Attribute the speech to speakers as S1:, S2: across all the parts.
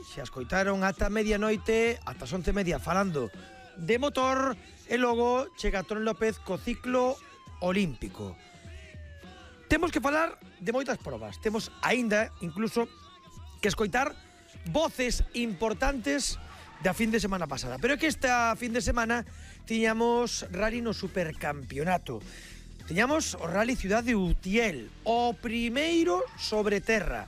S1: se escoitaron ata medianoite, ata as 11:30 falando de motor, e logo chega Toni López co ciclo olímpico. Temos que falar de moitas probas, temos aínda incluso que escoitar voces importantes da fin de semana pasada, pero é que esta fin de semana tiñamos rally no supercampeonato. Tiñamos o Rally Ciudad de Utiel, o primeiro sobre terra,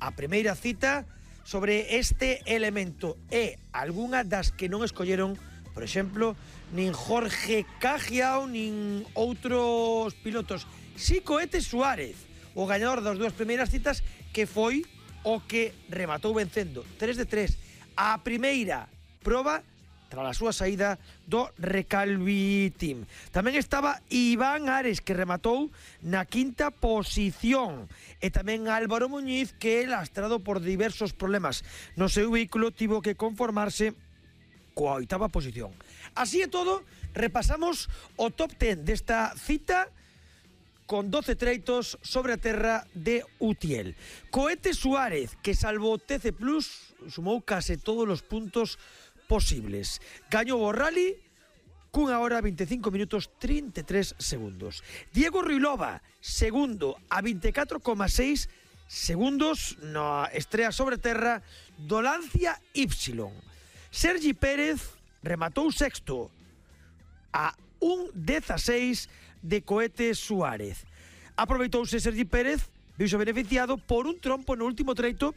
S1: a primeira cita sobre este elemento, e algunha das que non escolleron, por exemplo, nin Jorge Cajiao, nin outros pilotos. Si Cohete Suárez, o gañador das dúas primeiras citas, que foi o que rematou vencendo 3 de 3 a primeira proba tras a súa saída do Recalvi Team. Tamén estaba Iván Ares, que rematou na quinta posición, e tamén Álvaro Muñiz, que, lastrado por diversos problemas no seu vehículo, tivo que conformarse coa oitava posición. Así é todo, repasamos o top 10 desta cita con 12 treitos sobre a terra de Utiel. Cohete Suárez, que salvo TC Plus, sumou case todos os puntos posibles. Gañou o rally cunha hora 25 minutos 33 segundos. Diego Ruilova, segundo, a 24,6 segundos na estrea sobre terra do Lancia Y. Sergi Pérez rematou sexto a 1,16 de Cohete Suárez. Aproveitouse Sergi Pérez, viuse beneficiado por un trompo no último treito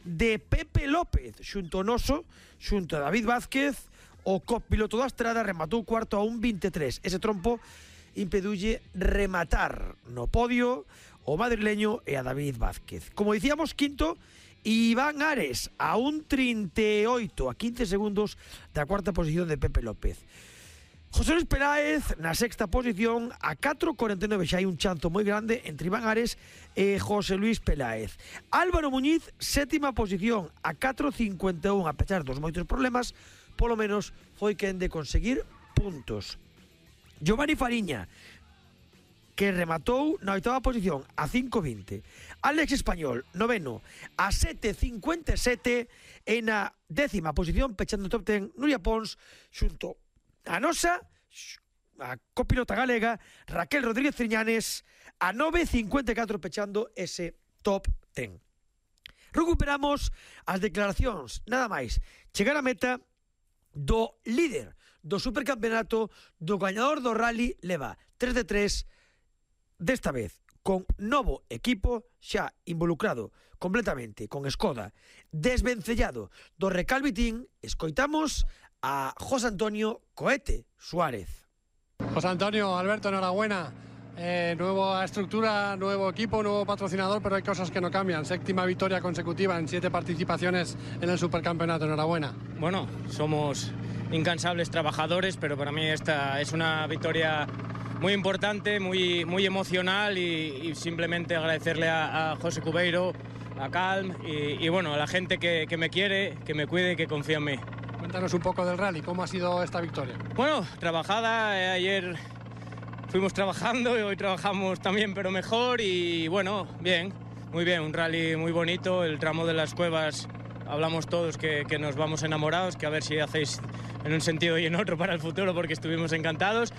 S1: de Pepe López, xunto ao noso, xunto a David Vázquez, o copiloto da Estrada, rematou cuarto a 1,23. Ese trompo impediulle rematar no podio o madrileño e a David Vázquez. Como dicíamos, quinto, Iván Ares, a 1,38, a 15 segundos da cuarta posición de Pepe López. José Luis Peláez na sexta posición a 4,49, xa hai un chanzo moi grande entre Iván Ares e José Luis Peláez. Álvaro Muñiz, sétima posición a 4,51, a pesar dos moitos problemas, polo menos foi quen de conseguir puntos. Giovanni Fariña, que rematou na oitava posición a 5,20. Alex Español, noveno, a 7,57, e na décima posición, pechando o top 10, Nuria Pons, xunto a nosa, a copilota galega, Raquel Rodríguez Triñanes, a 9,54, pechando ese top 10. Recuperamos as declaracións, nada máis chegar a meta do líder do supercampeonato, do gañador do rally. Leva 3 de 3, desta vez con novo equipo, xa involucrado completamente con Skoda, desvencellado do Recalvi Team. Escoitamos a José Antonio Cohete Suárez.
S2: José Antonio, Alberto, enhorabuena. Nueva estructura, nuevo equipo, nuevo patrocinador, pero hay cosas que no cambian. Séptima victoria consecutiva en 7 participaciones en el supercampeonato. Enhorabuena.
S3: Bueno, somos incansables trabajadores, pero para mí esta es una victoria muy importante, muy emocional, y simplemente agradecerle a José Cubeiro, a Calm y bueno, a la gente que me quiere, que me cuide y que confía en mí.
S2: Cuéntanos un poco del rally, ¿cómo ha sido esta victoria?
S3: Bueno, trabajada, ayer fuimos trabajando y hoy trabajamos también, pero mejor, y bueno, bien, muy bien, un rally muy bonito. El tramo de las cuevas, hablamos todos que nos vamos enamorados, que a ver si hacéis en un sentido y en otro para el futuro, porque estuvimos encantados.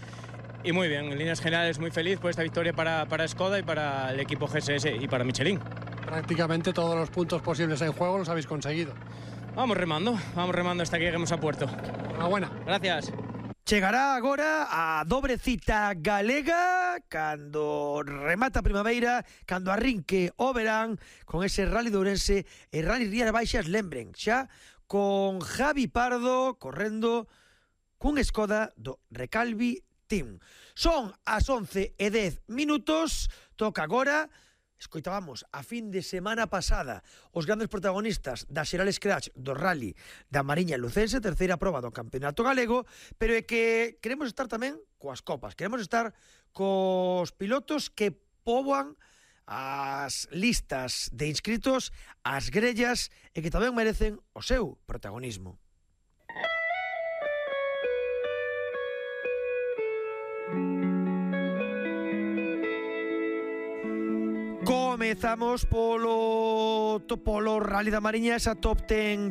S3: Y muy bien, en líneas generales muy feliz por esta victoria para Skoda y para el equipo GSS y para Michelin.
S2: Prácticamente todos los puntos posibles en juego los habéis conseguido.
S3: Vamos remando hasta que lleguemos a puerto.
S2: Enhorabuena.
S3: Gracias.
S1: Chegará agora a dobre cita galega cando remata a primavera, cando arrinque o verán, con ese Rally de Ourense e Rally Rías Baixas. Lembren, xa con Javi Pardo correndo cun Skoda do Recalvi Team. Son as 11:10, toca agora. Escoitábamos a fin de semana pasada os grandes protagonistas da Xeral Scratch do Rally da Mariña Lucense, terceira proba do Campeonato Galego, pero é que queremos estar tamén coas copas, queremos estar cos pilotos que poboan as listas de inscritos, as grellas, e que tamén merecen o seu protagonismo. Comezamos polo Rally da Mariña, esa top 10